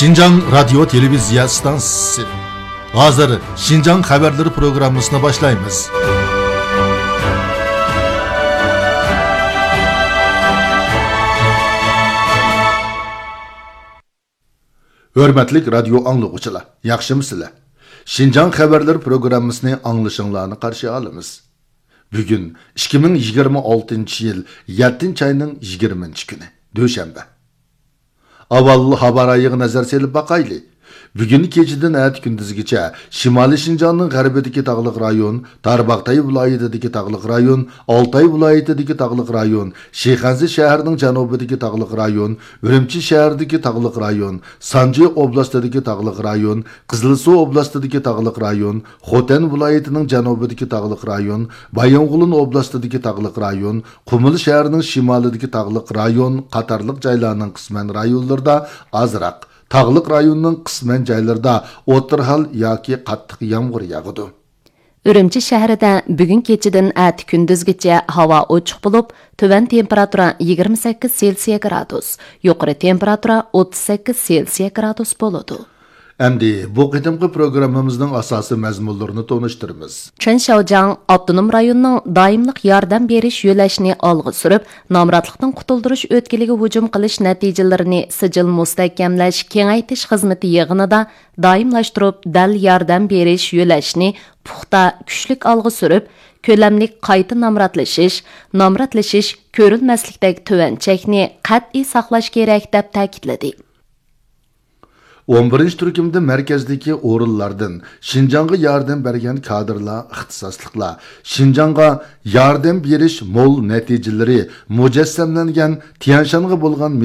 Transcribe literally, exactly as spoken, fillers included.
شىنجاڭ رادىيو تېلېۋىزىيە ئىستانسىسى. ھازىر شىنجاڭ خەۋەرلىرى پروگراممىسىنى باشلايمىز. ھۆرمەتلىك رادىيو ئاڭلىغۇچىلار، ياخشىمۇسىلەر؟ شىنجاڭ خەۋەرلىرى پروگراممىسىنى ئاڭلىشىڭلارنى قارشى ئالىمىز. بۈگۈن ئىككى مىڭ يىگىرمە ئالتىنچى يىل يەتتىنچى ئاينىڭ يىگىرمىنچى كۈنى، دۈشەنبە. ئاۋۋال ھاۋا رايىغا نەزەر سېلىپ باقايلى. بۈگۈن كېچىدىن ئەتە كۈندۈزگىچە شىمالىي شىنجاڭنىڭ غەربىدىكى تاغلىق رايون، تارباغتاي ۋىلايىتىدىكى تاغلىق رايون، ئالتاي ۋىلايىتىدىكى تاغلىق رايون، شىخەنزە شەھىرىنىڭ جەنۇبىدىكى تاغلىق رايون، ئۈرۈمچى شەھىرىدىكى تاغلىق رايون، سانجى ئوبلاستىدىكى تاغلىق رايون، قىزىلسۇ ئوبلاستىدىكى تاغلىق رايون، خوتەن ۋىلايىتىنىڭ جەنۇبىدىكى تاغلىق رايون، بايىنغولىن ئوبلاستىدىكى تاغلىق رايون، قۇمۇل شەھىرىنىڭ شىمالىدىكى تاغلىق رايون قاتارلىق جايلارنىڭ قىسمەن رايونلىرىدا ئازراق، تاغلىق رايوننىڭ قىسمەن جايلىرىدا ئوتتۇرا ھال ياكى قاتتىق يامغۇر ياغىدۇ. ئۈرۈمچى شەھىرىدە بۈگۈن كېچىدىن ئەتە كۈندۈزگىچە ھاۋا ئوچۇق بولۇپ، تۆۋەن تېمپېراتۇرا يىگىرمە سەككىز سېلسىيە گرادۇس، يۇقىرى تېمپېراتۇرا ئوتتۇز سەككىز سېلسىيە گرادۇس بولىدۇ. ئەمدى بۇ قېتىمقى پروگراممىمىزنىڭ ئاساسىي مەزمۇنلىرىنى تونۇشتۇرىمىز. چېن شياۋجياڭ ئاپتونوم رايوننىڭ دائىملىق ياردەم بېرىش يۆلەشنى ئالغا سۈرۈپ، نامراتلىقتىن قۇتۇلدۇرۇش ئۆتكىلىگە ھۇجۇم قىلىش نەتىجىلىرىنى سىجىل مۇستەھكەملەش، كېڭەيتىش خىزمىتى يىغىنىدا دائىملاشتۇرۇپ دەل ياردەم بېرىش يۆلەشنى پۇختا، كۈچلۈك ئالغا سۈرۈپ، كۆلەملىك قايتا نامراتلىشىش، نامراتلىشىش كۆرۈلمەسلىكتەك تۆۋەن چەكنى قەتئىي ساقلاش كېرەك، دەپ تەكىتلىدى. ئون بىرىنچى تۈركۈمدە مەركەزدىكى ئورۇنلاردىن شىنجاڭغا ياردەم بەرگەن كادىرلار، ئىختىساسلىقلار، شىنجاڭغا ياردەم بېرىش مول نەتىجىلىرى مۇجەسسەملەنگەن تيەنشانغا بولغان